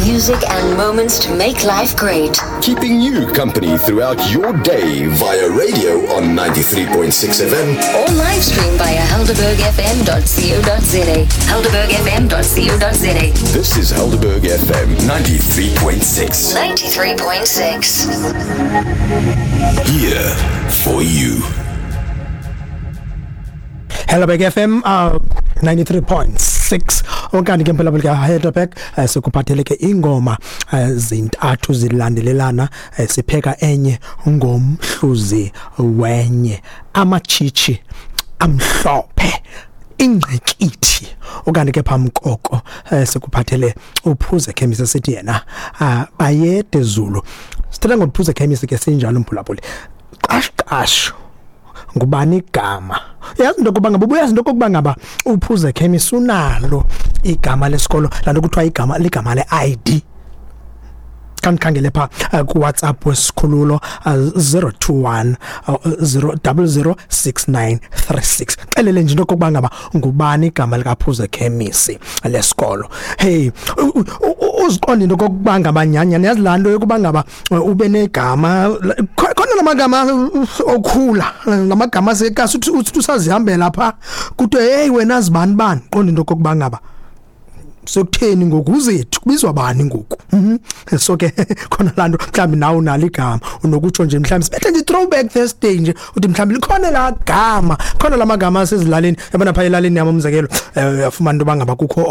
Music and moments to make life great. Keeping you company throughout your day via radio on 93.6 FM. Or live stream via helderbergfm.co.za. Helderbergfm.co.za. This is Helderberg FM 93.6. 93.6. Here for you. Helderberg FM 93.6 okanye ke mphela ka Heidelberg, sikuphathele ke ingoma zintathu zilandelelana, sipheka enye ngomhluzi wenye, amatshitshi amhlophe, ingqikithi. Okanye ke phambi koko sikuphathele uphuze khemisi, sithi yena bayede Zulu. Sithetha ngophuze khemisi ke sinjalo, mphulaphuli. Qash qash, ngubani igama? Yazi into yokuba ngaba, ubuyazi into yokokuba ngaba uphuze khemisi unalo igama lesikolo, laa nto kuthiwa igama ligama le-ID? Khandikhangele phaa kuWhatsApp wesikhululo, 021 000 6936. Xelele nje into yokokuba ngaba ngubani igama likaphuze khemisi lesikolo. Hey, uziqonde into yokokuba ngaba nyhani, yazi laa nto yokuba ngaba ube negama khona, la magama okhula, la magama asekasi, uthi usazihambela phaa kuthiwe, "Hey wena zibani bani." Qonda into yokokuba ngaba sekutheni ngoku, uzethu kubizwa bani ngoku? So ke khona laa nto, mhlawumbi nawe unalo igama, unokutsho nje, mhlawumbi sibethe nje throwback Thursday nje, uthi mhlawumbi likhona laa gama, khona la magama asezilalini. Yabona phaa elalini yam, umzekelo, uyafumana into yoba ngaba kukho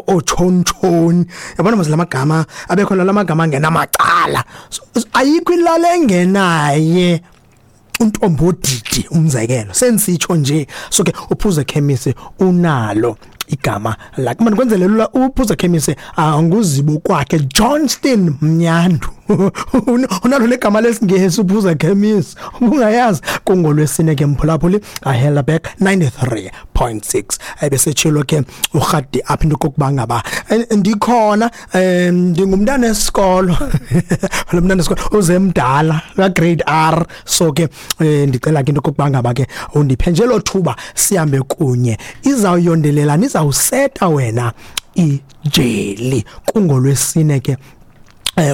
ootshonitshoni, yabona mos la magama abekhona, la magama angenamacala. So, ayikho ilali engenaye untombodidi, umzekelo, sensitsho nje. So ke uphuze khemisi unalo igama lakhe, manje kwenzele lula. Uphuze khemisi nguzibo kwakhe Johnston Mnyandu, unalo legama lesingesi uphuze khemisi, ubungayazi? Kungolwesine ke, mphulaphuli kaHelderberg 93.6. Ebesetshilo ke urhadi apha into kokuba ngaba ndikhona, ndingumntana esikolo, lo mntana esikolo uzemdala ka grade R. So ke ndicela ke into kokuba ngaba ke undiphe nje lo thuba sihambe kunye, izawuyondelelana, izawuseta wena ijeli. Kungolwesine ke,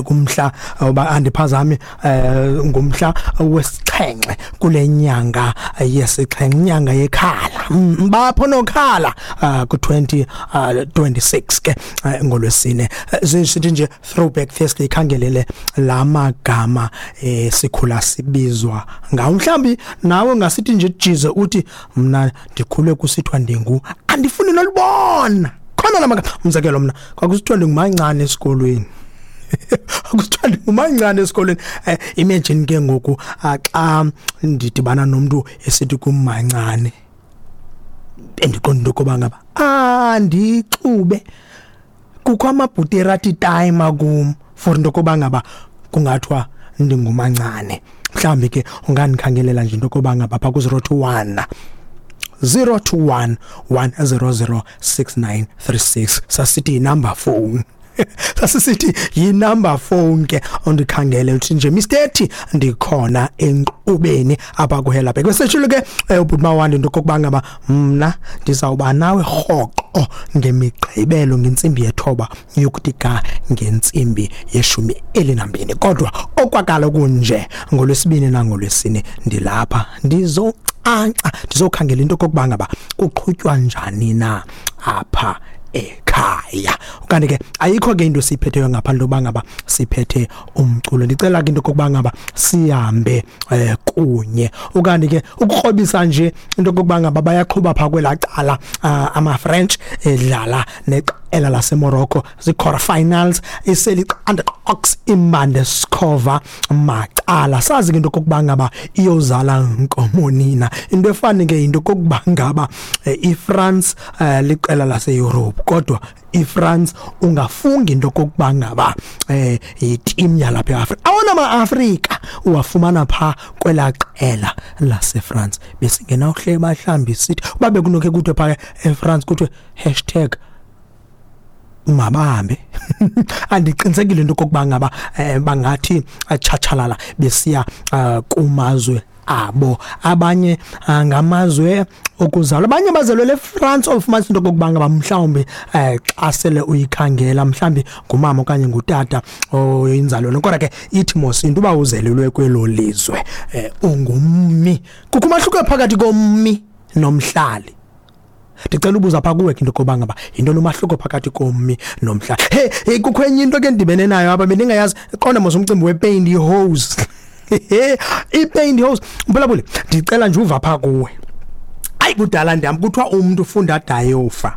kumhla uba andiphazami, ngumhla wesixhenxe kule nyanga yesixhenxe, inyanga yekhala, bapho nokhala, ku 2026 ke, ngolwesine. Sithi nje throwback Thursday, ikhangelele lamagama sikhula sibizwa ngawo. Mhlambi nawe ngasithi nje jize, uthi mna ndikhule kusithiwa ndingu, andifuni nolibona khona lamagama. Umzekelo, mna kwakusithiwa ndingumancane esikolweni, kusithiwa ndingumancane esikolweni. Imagine ke ngoku xa ndidibana nomuntu esithi kumancane, bendiqonda into yokuba ngaba andixube kukho amabhuterati time kum for into yokuba ngaba kungathiwa ndingumancane. Mhlawumbi ke ungandikhangelela nje into yokuba ngaba phaa ku-021 021 100 6936. Sasithi yinumber phone, sasisithi yinumber phone ke. Undikhangele uthi nje, "Mr T, ndikhona enkqubeni apha kuHelderberg." Beseshilo ke ubhuti Mawandi into okokuba ngaba mna ndizawuba nawe rhoqo ngemigqibelo ngentsimbi yethoba yokuthi ga ngentsimbi yeshumi elinambini, kodwa okwakalo kunje ngolwesibini nangolwesine ndilapha, ndizocanca, ndizokhangela into okokuba ngaba kuqhutywa njani na apha ekhaya. Kanti ke ayikho ke into esiyiphetheyo ngaphandle kokuba ngaba siphethe umculo. Ndicela ke into okokuba ngaba sihambe kunye. Ukanti ke ukukrobisa nje into okokuba ngaba bayaqhuba phaa kwelaa cala, ama-French edlala neqela laseMorocco, zii-quarter finals, iseliqanda ox imbande skhova macala. Sazi ke into okokuba ngaba iyozala nkomonina. Into efani ke into okokuba ngaba iFrance liqela laseEurope, kodwa iFrance ungafungi into okokuba ngaba yiteam yalapha eAfrika. Awona ma-Afrika uwafumana phaa kwelaa qela laseFrance. Besingenawuhle bahlambi sithi uba bekunokhe kuthiwe phaa eFrance kuthiwe #mabahambe, andiqinisekile into okokuba ngaba bangathi tshatshalala besiya kumazwe. abo. Abanye ngamazwe okuzalwa, abanye bazelwe eFrance, ofumanisa into okokuba ngaba mhlawumbi xa sele uyikhangela mhlawumbi ngumama okanye ngutata oyinzalelwane, kodwa ke ithi mos into uba uzelelwe kwelo lizwe ungummi. Kukho umahluko phakathi kommi nomhlali. Ndicela ubuza pha kuwe ke into yokoba ngaba yintoni umahluko phakathi kommi nomhlali. Hey, kukho enye into ke ndibene nayo apha bendingayazi. Qonda mos umcimbi wepaint hose. I-paint hose, mphulaphuli, ndicela nje uva pha kuwe. Ayi, kudala ndihamba kuthiwa umntu ufunda dayofa.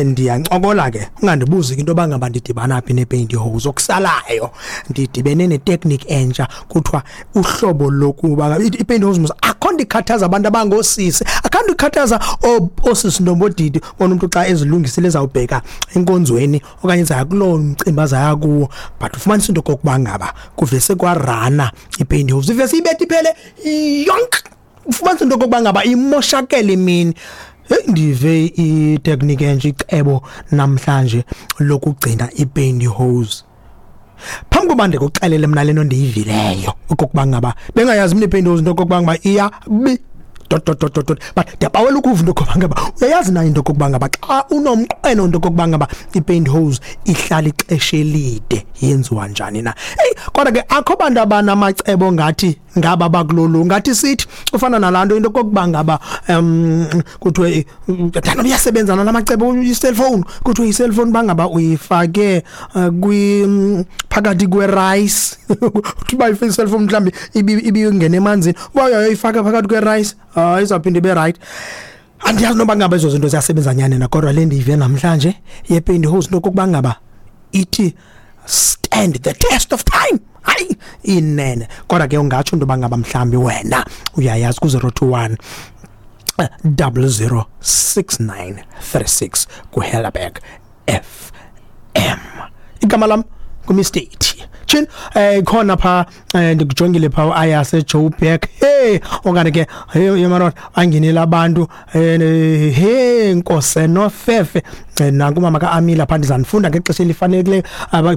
Ndiyancokola ke, ungandibuzi ke into yoba ngaba ndidibana phi ne-paint hose. Okusalayo ndidibene netechnique entsha, kuthiwa uhlobo lokuba i-paint hose mos akho nto ikhathaza abantu abangoosisi, akho nto ikhathaza oosisi ntombodidi. Bona umntu xa ezilungisile ezawubheka enkonzweni okanye ezaya kuloo mcimbi azaya kuwo, but ufumanisa into okokuba ngaba kuvese kwarana i-paint hose, ivese ibethe iphele yonke, ufumanisa into okokuba ngaba imoshakele imini. Hey, ndive itechnique entsha, icebo namhlanje lokugcina i-paint hose. Phambi koba ndikuxelele mna lento ndiyivileyo okokuba ngaba bengayazi mna i-paint hose into okokuba ngaba iya bi dot dot dot dot dot, but ndiyabawela ukuva into okokuba ngaba uyayazi na into okokuba ngaba xa unomqweno into okokuba ngaba i-paint hose ihlala ixesha elide yenziwa njani na. Hey, kodwa ke akho bantu abanamacebo ngathi ngaba bakulolu ngathi sithi ufana nalanto into okokuba ngaba kuthiwe thana uyasebenza nalamacebo i-cellphone, kuthiwe i-cellphone bangaba uyifake kwi phakathi kwe-rice, uthi uba i-cellphone mhlawumbi ibingena emanzini, uba uyayoyifaka phakathi kwe-rice, hayi, izawuphinda ibe right. Andiyazi noba ngaba ezo zinto ziyasebenza nyani na, kodwa le ndiyive namhlanje ye-paint hose into okokuba ngaba ithi stand the test of time, hayi inene. Kodwa ke ungatsho into yoba ngaba mhlawumbi wena uyayazi ku-021 006936 kuHelderberg FM. Igama lam nguMr T Chin. Khona pha ndikujongile pha ayase Joburg. Hey, okanye ke hey madoda, angenile abantu hey Nkose nofefe, nanku mama kaAmila pha. Ndizanifunda ngexesha elifanelekileyo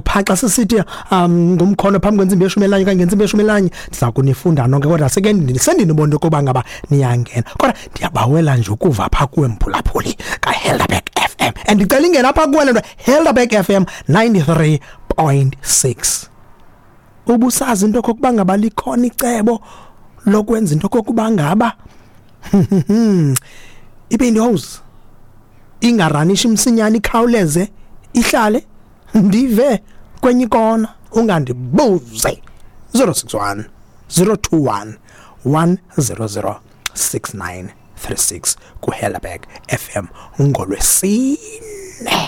pha xa sisithi ngumkhono phambi kwentsimbi yeshumi elinye okanye ngentsimbi yeshumi elinye, ndiza kunifunda nonke, kodwa seke sendinibona ukuba ngaba niyangena. Kodwa ndiyabawela nje ukuva pha kuwe mphulaphuli kaHelderberg FM, and ndicela ingena pha kuwe le nto Helderberg FM 93.6. Ubusazi into okokuba ngaba likhona icebo lokwenza into okokuba ngaba ipaint hose ingaranishi msinyane, ikhawuleze ihlale? Ndive kwenye ikona, ungandibuze. 061 021 100 6936 kuHelderberg FM ngolwesine.